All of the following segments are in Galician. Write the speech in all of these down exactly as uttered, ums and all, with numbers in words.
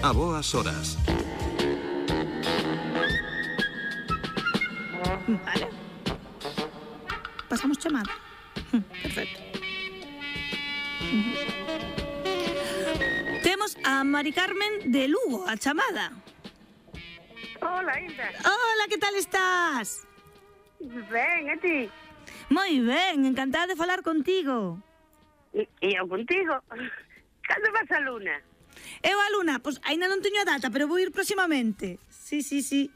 A boas horas. Vale. Pasamos chamada. Perfecto. Temos a Mari Carmen de Lugo, a chamada. Hola, Inda. Hola, que tal estás? Ben, e ti? Moi ben, encantada de falar contigo. E, e eu contigo? Cando vas a Luna? Eu a Luna, pois aínda non teño a data, pero vou ir próximamente. Sí, sí, sí.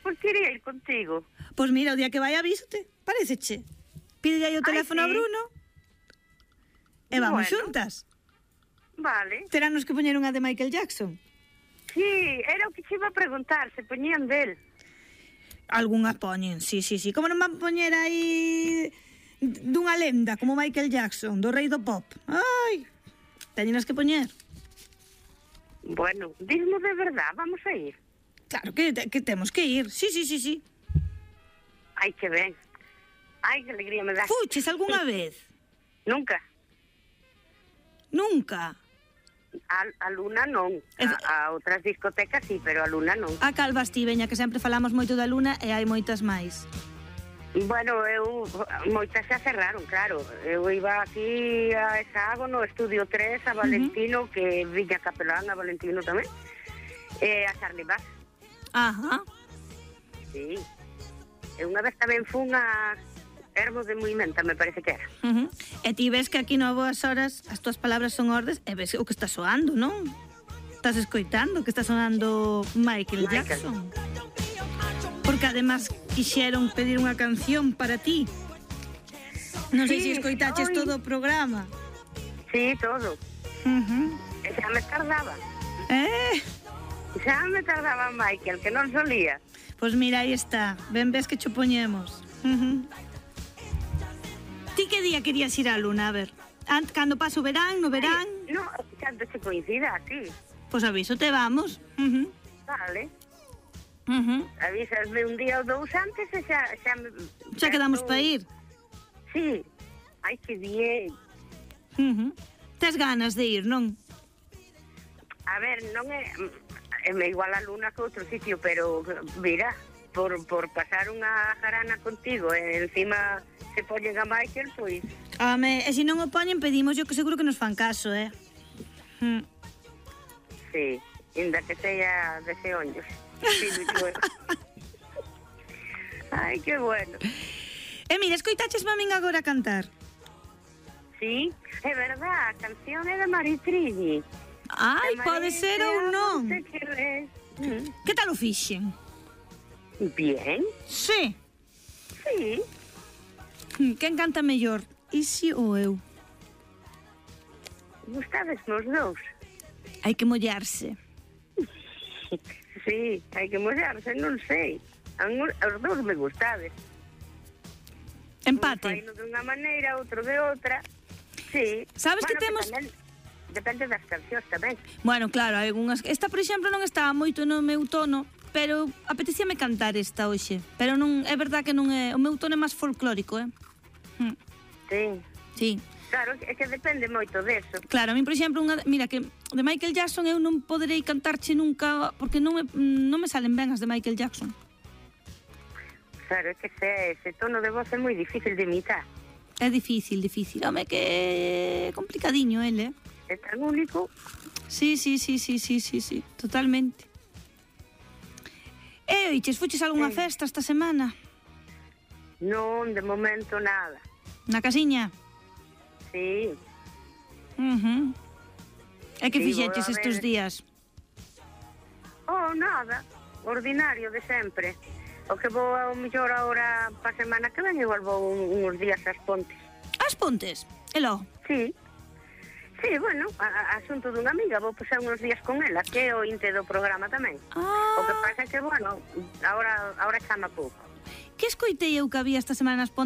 Pois quería ir contigo. Pois mira, o día que vai avísote, paréceche. Pide aí o teléfono Ai, sí. a Bruno e vamos Bueno. xuntas. Vale. Terános que poñer unha de Michael Jackson. Sí, era o que te iba a preguntar, se poñían del. Algúnha poñen, sí, sí, sí. Como non van poñer aí dunha lenda como Michael Jackson, do rei do pop? Ai, teñenas que poñer. Bueno, dísmo de verdad, vamos a ir. Claro que, que temos que ir. Sí, sí, sí, sí. Ai, que ben. Ai, que alegría me dá. Fuches algunha vez? Nunca. Nunca. A, a Luna non. A, a outras discotecas sí, pero a Luna non. A Calvas ti, veña, que sempre falamos moito da Luna e hai moitas máis. Bueno, eu moitas xa cerraron, claro. Eu iba aquí a Esago no Estudio tres, a Valentino, uh -huh. que Viña Capelán, a Valentino tamén, e a Charlie Bass. Ajá. Sí. E unha vez tamén fun a Hermos de Movimenta, me parece que era. Uh -huh. E ti ves que aquí no Boas Horas as túas palabras son ordes e ves o que está soando, non? Estás escoitando que está sonando Michael, Michael. Jackson. Porque además quixeron pedir unha canción para ti. Non sei sí, se escoitaches oi. todo o programa. Sí, todo. Uh -huh. E xa me tardaba. Eh? Xa me tardaba Michael, que non solía. Pois mira, aí está. Ben ves que cho poñemos. Uh -huh. Ti que día querías ir á Luna, a ver? Ant, cando paso o verán, no verán? Ay, no, cando se coincida, sí. Pois aviso, te vamos. Uh -huh. Vale. Uh -huh. Avísasme un día ou dous antes e xa... Xa, xa quedamos para ir. Sí. Ai, que bien. Uh -huh. Tes ganas de ir, non? A ver, non é... É me igual a Luna que outro sitio, pero, mira, por, por pasar unha jarana contigo e encima se poñen a Michael, pois... Home, e se non o poñen, pedimos yo que seguro que nos fan caso, eh? Mm. Sí, ainda que sea de xeonllos. Sí, bueno. Ai, que bueno. E mira, escoitaches mamín agora cantar? Sí, é verdad, a canción é de Maritrini. Ai, pode ser ou non. Mm. Que tal o fixen? Bien. Sí. Sí. Quen canta mellor? Isi ou eu? Gustades nos dous? Hai que mollarse. Sí, hai que mollarse, non sei. Os dous me gustades. Empate. Un faino dunha maneira, outro de outra. Sí. Sabes bueno, que temos... Que tamén, depende das cancións tamén. Bueno, claro, hai algunhas... Esta, por exemplo, non estaba moito no meu tono, pero apetecíame cantar esta hoxe. Pero non é verdad que non é... O meu tono é máis folclórico, eh? Hm. Sí. Sí. Claro, é que depende moito deso. Claro, a mí, por exemplo, unha, mira, que de Michael Jackson eu non poderei cantarche nunca, porque non me, non me salen ben as de Michael Jackson. Claro, é que ese, ese tono de voz é moi difícil de imitar. É difícil, difícil. Home, que é complicadiño ele, eh? É tan único. Sí, sí, sí, sí, sí, sí, sí, totalmente. E, oiches, fuches a algunha sí. festa esta semana? Non, de momento nada. Na casiña? Sí. Uh -huh. E que sí, fixeches estes días? Oh, nada. Ordinario de sempre. O que vou ao mellor agora pa semana que ven, igual vou un, uns días ás Pontes. As Pontes? E logo? Sí. Sí, bueno, a, a asunto dunha amiga, vou pasar uns días con ela, que é o inte do programa tamén. Ah. O que pasa é que, bueno, agora, agora chama pouco. Que escoitei eu que había esta semana nas Pontes